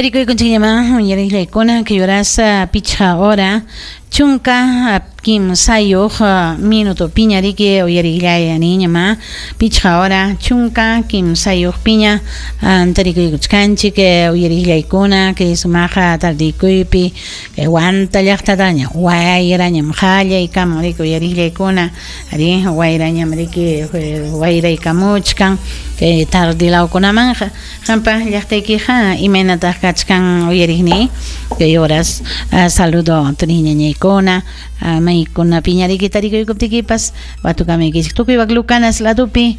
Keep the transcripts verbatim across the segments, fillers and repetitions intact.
Tarikuykunchikñamá uyariqllaykuna kay horas pichqa hora chunka kimsayuq minuto piña riki uyariqllay niñamá pichqa hora chunka kimsayuq piña tarikuykuchkanchik uyariqllaykuna kay sumaqa tardikuypi kay Huanta llaqtataña wayrañam qallaykamun riki uyariqllaykuna ari wayrañam riki wayraykamuchkan kay tardilawkunamanqa qampa llaqtaykiqa imaynataq kachkan uyariqni kay horas saludo turiñañaykuna maykunapiña riki tarikuykuptikipas watukamuykichik tukuy wak Lucanas ladupi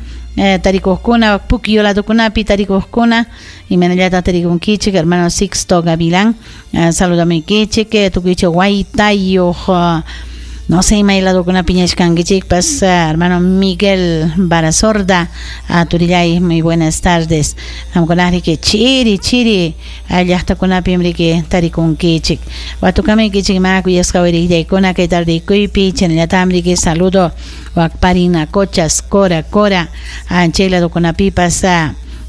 tarikuqkuna Puquio ladukunapi tarikuqkuna imaynallataq tarikunkichik hermano Sixto Gavilán saludamuykichik tukuychik waytayuq no sé imay ladukunapi ñachkankichikpas hermano Miguel Barasorda turillay muy buenas tardes qamkuna riki chiri chiri llaqtakunapim riki tarikunkichik watukamuykichik ma kuyasqa uyariqllaykuna kay tardikuypi chaynallatam riki saludo wak Parinacochas Cora Cora chay ladukunapipas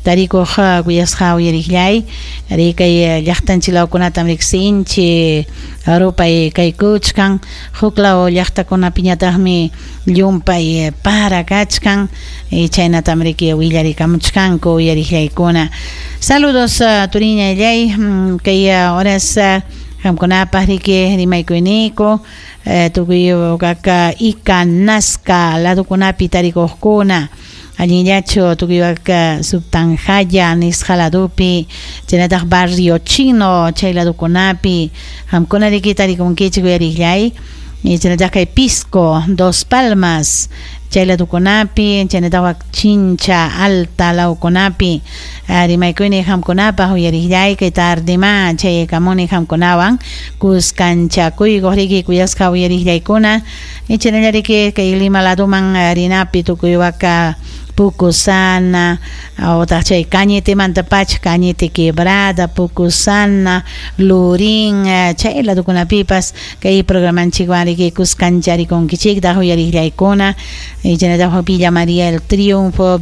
tarikuq kuyasqa uyariqllay ari kay llaqtanchik lawkunatam riqsinchik rupay kaykuchkan huklaw llaqtakunapiñataqmi llumpay para kachkan chaynatam riki willarikamuchkanku uyariqllaykuna saludos turiñallay kay horas qamkunapaq riki rimaykuyniku tukuy kaka Ica Nazca ladukunapi tarikuqkuna allinllachu tukuy waka Subtanjaya nisqa ladupi chaynataq Barrio Chino chay ladukunapi qamkuna riki tarikunkichik uyariqllay chaynataq kay Pisco Dos Palmas chay ladukunapi chaynataq wak Chincha Alta lawkunapi rimaykuyni qamkunapaq uyariqllay kay tardema chaykamuni qamkunawan kuskanchakuykuq riki kuyasqa uyariqllaykuna chaynalla riki kay Lima laduman rinapi tukuy waka Pucusana otaq chay Cañetemantapacha Cañete Quebrada Pucusana Lurín chay ladukunapipas kay programanchikwan riki kuskancharikunkichiktaq uyariqllaykuna chaynataq Villa María el Triunfo.